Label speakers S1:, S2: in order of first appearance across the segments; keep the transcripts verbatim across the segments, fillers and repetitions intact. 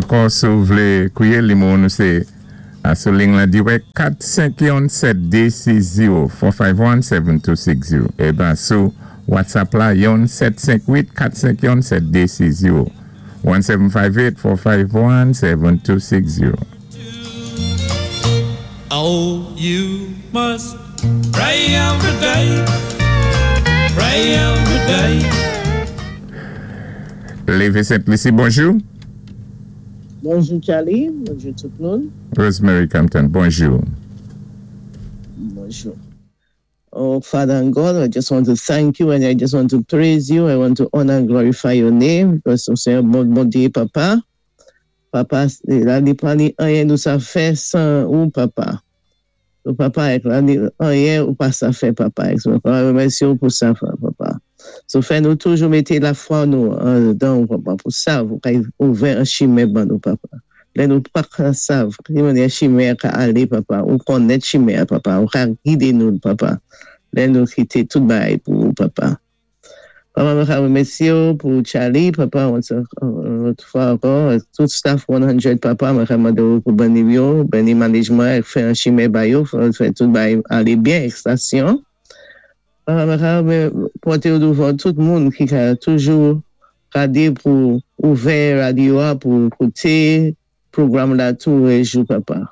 S1: Ankò, si ou vlé kwiyé, nimewo nou sé sou liy la dirèk kat senk youn sèt dé sis zewo kat senk youn sèt de sis zewo. É ben sou WhatsApp la youn sèt senk uit kat senk youn sèt de sis zewo, one seven five eight four five one seven two six zero.
S2: Oh, you must pray every day, pray every day.
S1: Lévé Sent-Lisi, bonjou.
S3: Bonjou Charlie, bonjou tout moun.
S1: Rosemary Compton, bonjou.
S3: Bonjou. Oh, Father and God, I just want to thank you and I just want to praise you. I want to honor and glorify your name because se yon bon, Bondyé, Papa. Papa, la ni pa ni anyen nou sa fè san ou, Papa. So, Papa, la ni anyen ou pa sa fè, Papa. So, remèsyé ou pou sa, Papa. So, fè nou toujou mété lafwa nou dan ou, Papa, pou sa, ou ka ouvè an chimen ban nou, Papa. Lè nou pa ka sav, ki mannyè chimen ka alé, Papa, ou konnèt chimen, Papa, ou ka gidé nou, Papa. Lè nou kité tout bagay pou ou, Papa. Papa, mwen ka remèsyé ou pou Charlie, Papa, lòt fwa ankò, tout staff san, Papa, mwen ka mandé ou pou béni yo, béni management, fè an chimen ba yo, fè tout bagay alé byen, estasyon. Papa, mwen ka pòté ou douvan tout moun ki ka toujou gadé pou ouvè radyo a, pou kouté pwogram la toulèjou, Papa.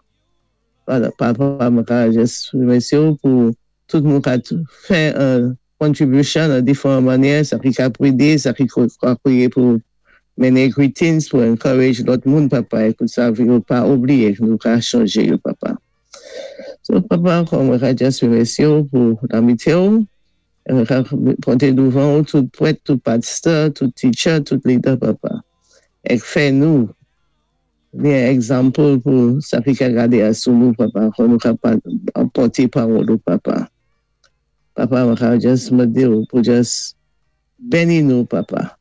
S3: Papa, mwen ka jis remèsyé ou pou tout moun ka fè an contribution an diferan mannyè, sa ki ka pwédé, sa ki ka kwiyé pou mennen greetings, pou encourage lòt moun, Papa, pou sa yo pa oubliyé, nou ka chonjé yo, Papa. So, Papa, ankò mwen ka jis remèsyé ou pou lamitye ou, mwen ka pòté douvan ou tout pwèt, tout pastor, tout teacher, tout leader, Papa. Ek fè nou byen example pou sa ki ka gadé a sou nou, Papa, kon nou ka pòté pawòl ou, Papa. Papa, mwen ka jis mandé ou pou jis béni nou, Papa.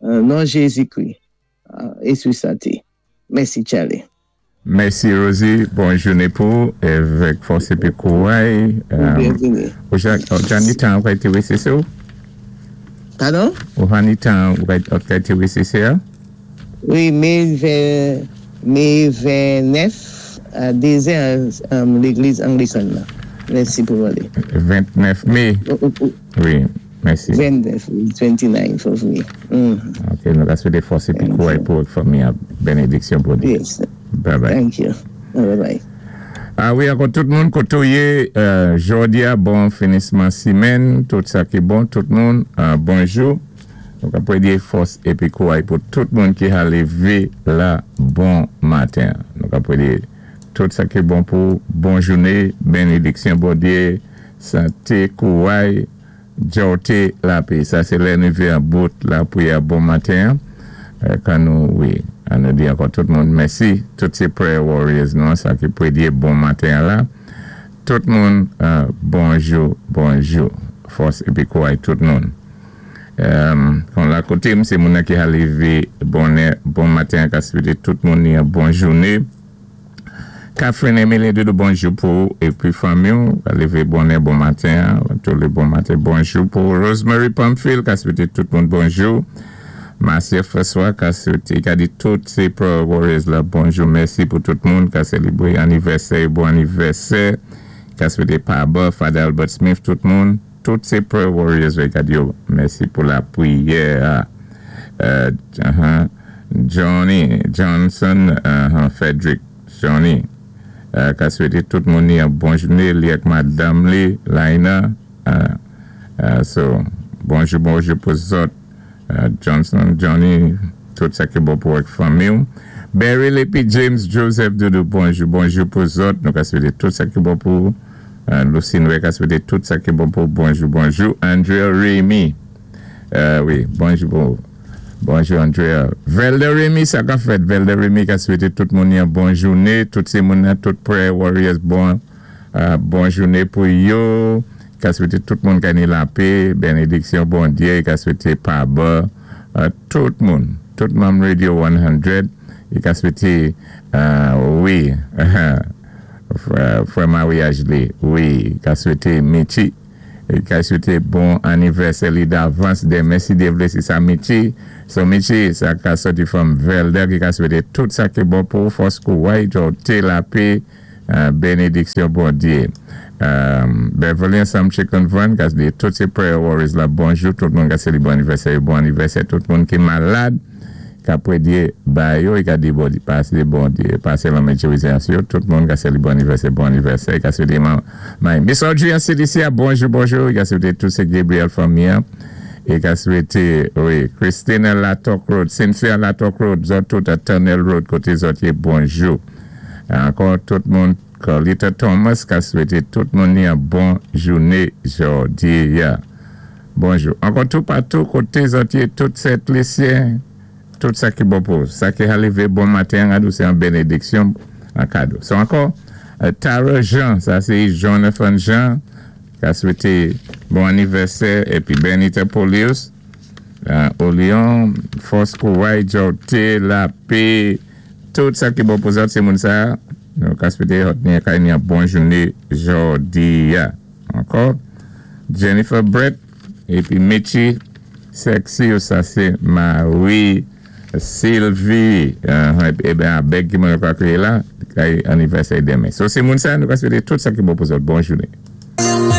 S3: Non Jézikri, Espri Senti. Mèsi, Charlie.
S1: Mèsi, Rosie. Bon jouné pou avèk fòs épi kouray.
S3: Byenvini.
S1: Ou ja ni tan ou ka té W C C ou?
S3: Padon?
S1: Ou ha ni tan ou ka té W C C a?
S3: Wi, me me vennèf a dezè légliz Anglikan la. Mèsi pou wale.
S1: ventnèf mé. Wi, mèsi.
S3: ventnèf, twenty-nine of May.
S1: Ok, nou ka swété fòs épi kouray pou fanmi a, benediksyon pou di.
S3: Yes.
S1: Bye bye.
S3: Thank you. Bye bye.
S1: Ah wi, ankò tout moun koté ou yé, jòdi a, bon finisman simèn, tout sa ki bon, tout moun, bonjou. Donk apwé di fòs épi kouray pou tout moun ki ha lévé la bon maten. Donk apwé di tout sa ki bon pou bon jouné, benediksyon Bondyé, santé, kouray, djòté, lapè. Sa sé lè nou an bout lapriyè bon maten. Kan nou, wi, an nou di ankò tout moun mèsi, tout sé prayer warriors nou, sa ki pwédyé bon maten la. Tout moun, bonjou, bonjou. Fòs épi kouray tout moun. Kon la koté m, sé moun ki ha lévé bonè, bon maten, ka swété tout moun ni bon jouné. Catherine Emily Doudou, bonjou pou épi fanmi ou, ka lévé bonè, bon maten, tout lé bon maten, bonjou pou Rosemary Pamphile, ka swété tout moun bonjou. Marcia François, ka swété, ka di tout sé prayer warriors la, bonjou, mèsi pou tout moun, ka sélébré anivèsè, bon anivèsè, ka swété Paba, Father Albert Smith, tout moun. Tout sé prayer warriors, ka di yo, mèsi pou lapriyè. Johnny Johnson, Frederick Johnny, ka swété tout moun ni an bon jouné, li ak madam li, Laina. So, bonjou, bonjou pou zòt, Johnson, Johnny, tout sa ki bon pou ak fanmi ou. Barry Lepi, James Joseph Doudou, bonjou, bonjou pou zòt, nou ka swété tout sa ki bon pou Lucine Wek, ka swété tout sa ki bon pou, bonjou, bonjou. Andrea Remy, wi, bonjou pou, bonjou Andrea. Velda Remy, sa ka fèt, Velda Remy ka swété tout moun yon bon jouné, tout sé moun nan, tout prayer warriors, bon, bon jouné pou yo, ka swété tout moun ka ni lapè, benediksyon Bondyé, ka swété paba, tout moun, tout manm Radio san, ka swété, wi, frè maryaj li, wi, ka swété Michi, I ka swété bon anivèsè li davans denmen si Dye vlé sé sa Michi. So Michi, sa ka sòti from Velder ki ka swété tout sa ki bon pou fòs kouway, té lapè, bénédiksyon Bondyé. Beverly ansanm Chicken Van, ka di tout sé prayer warriors la bonjou, tout moun ka sé li bon anivèsè, bon anivèsè, tout moun ki malad, ka pwédyé ba yo, i ka di bon, pasé bon, pasé lanmen yo, tout moun ka sé li bon anivèsè, bon anivèsè, i ka swété man, man. Miss Audrey an C D C, bonjou, bonjou, i ka swété tout sé Gabriel fanmi, i ka swété, wi, Christina Latok Road, Cynthia Latok Road, zòt tout a Tunnel Road, koté zòt yé, bonjou. Ankò tout moun, Carlita Thomas, ka swété tout moun ni yon bon jouné jòdi a. Bonjou. Ankò tout patou, koté zòt yé, tout Sent Lisyen, tout sa ki bon pou, sa ki lévé bon maten, adou sé yon bénédiksyon, an kado. So ankò, Tara Jean, sa sé Jonathan Jean, ka swété bon anivèsè, épi Benita Polius, Olion, fòs kouway, té, lapè, tout sa ki bon pou zòt, sé moun sa, nou ka swété hot ni kay ni yon bon jouné jòdi a. Ankò, Jennifer Brett, épi Michi Sexy, sa sé Marie Sylvie, ébyen abèk ki moun kwa kriye la, kay anivèsè denmen. So sé moun sa, nou ka swété tout sa ki bon pou zòt, bon jouné.